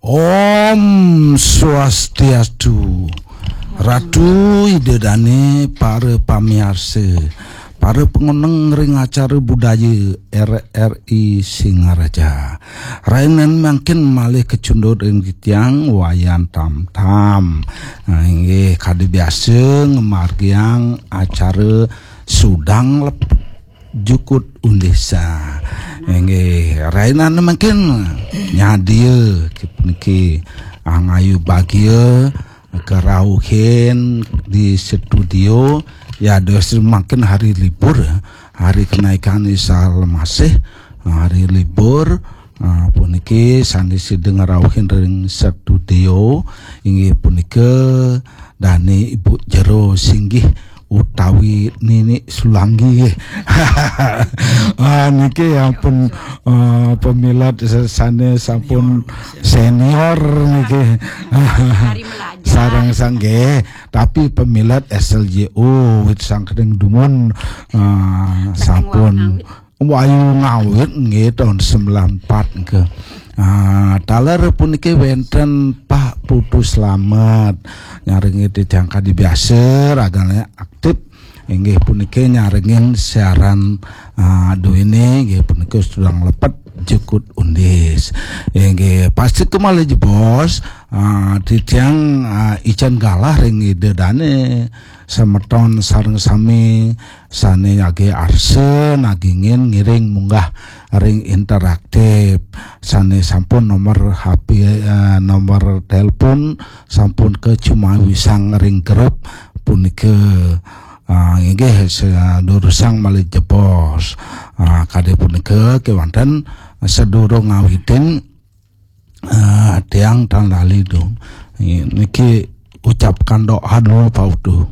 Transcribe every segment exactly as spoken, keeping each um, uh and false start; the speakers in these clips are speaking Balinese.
Om Swastiastu. Ratu Ida Dane, para pamiarsa, para pengoneng ring acara budaya R R I Singaraja. Rainan mangkin malih kacunduk ring titiang Wayan Tam Tam. Nah, inggih kadi biasa ngamargiang acara sudang lepet jukut undis. Inggih, rainan mangkin nyadia niki angayu bagia karauhin di studio. Ya, dos mangkin hari libur, hari kenaikan Isa Masih, hari libur. Ah, puniki sane sida ngrauhin ring studio inggih punika dane Ibu Jero Singgih utawi Nini Sulanggi. Ah, niki ampun, ah, pamilet sane sampun senior niki. Sareng sanggih, tapi pamilet S L J O wit sangkening dumun, ah, sampun wayu ngawit nggih taun sembilan empat nggih. Ah, taler puniki wenten Pak Putu Slamet. Nyarengi titiang kadi biasa ragane aktif. Inggih puniki nyarengin siaran, ah, duene inggih punika sudang lepet jukut undis. Inggih pasti kemalih jebos, ah, titiang, ah, ican galah ring Ida Dane semeton sareng sami sane agi arsa nagingin ngiring munggah ring interaktif sane sampun nomor H P, eh, nomor telepon sampun kacumawisang ring grup punika. Ah, inggih sadurusang malih jebos. Ah, kadi punika kewanten sadurung ngawitin, ah, tiang tan lali dong. Niki ucapkan doa dulu Pak Utuh.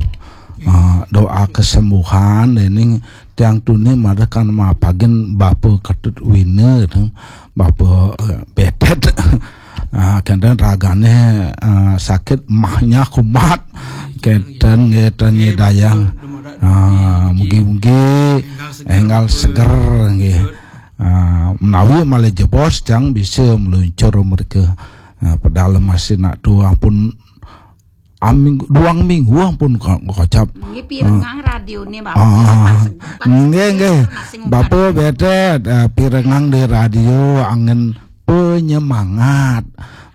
Ah, doa kesembuhan dening tiang tuni marakan mapagin Bapa Ketut Wina tu. Bapa, eh, Betet. Ah, kenten ragane, ah, sakit mahnya kumat. Kenten nggih ten nyidayang. Ah, mugi-mugi enggal seger nggih. Ah, menawi malih jebos tiang bisa meluncur mereka. Ah, padahal masih nak tu ampun aming, duang minggu ampun ko-, kocap. Nggih pirengang radione Bapak. Ah, nggih, nggih. Bapa Betet, ah, pirengang di radio angin penyemangat.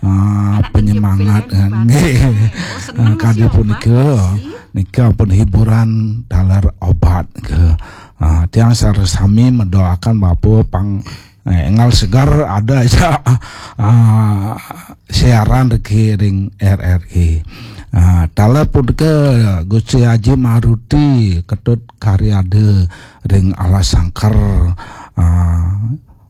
Ah, penyemangat nggih. Ah, kadi punika nika pun hiburan taler obat ke. Ah, tiang sareng sami mendoakan Bapa pang, eh, enggal segar ada aja, ah, siaran regi ring R R I. Ah, taler punika Gusti Haji Maruti Ketut Karyada ring Alas Sangker. Ah,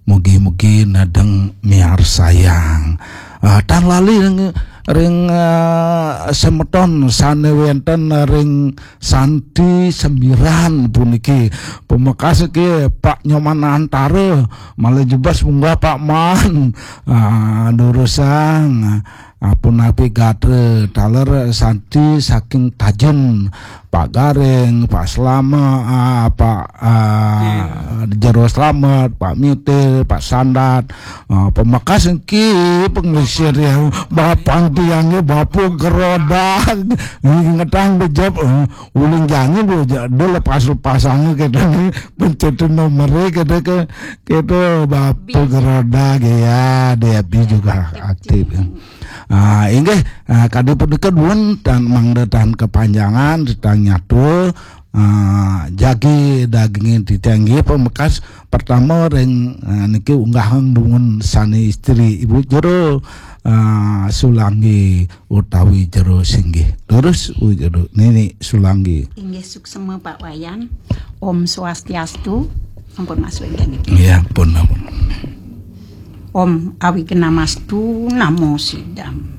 mugi-mugi nedeng miarsayang. Ah, tan lali ring, ring, ah, semeton sane wenten ring Santi Sembiran puniki. Pamekas ke Pak Nyoman Antara, malih jebos munggah Pak Man. Ah, durusang, ah, punapi gatra taler Santi saking Tajen, Pak Garing, Pak Slamet, ah, Pak, ah, Jero Slamet, Pak Mitir, Pak Sandat, ah, pamekas engki penglesir ya, bapang tiangnya Bapa Gerodak, ngetang bejep, eh, uling jangan dia, dia lepas-lepasannya kita ni, pencet nomornya kita ke, kita Bapa Gerodak ya, dia juga aktif. Ah, inggih, ah, kadi punika dumun tan mangda tan kepanjangan, tan nyatua, ah, jagi dagingin titiang inggih pamekas pertama ring, ah, niki unggahang dumun sane istri Ibu Jero, ah, Sulanggi utawi Jero Singgih. Terus Ibu Jero Nini Sulanggi. Inggih suksema Pak Wayan. Om Swastiastu. Ampun masuk inggih niki. Iya, pun, pun. Om Awignamastu Namo Sidam.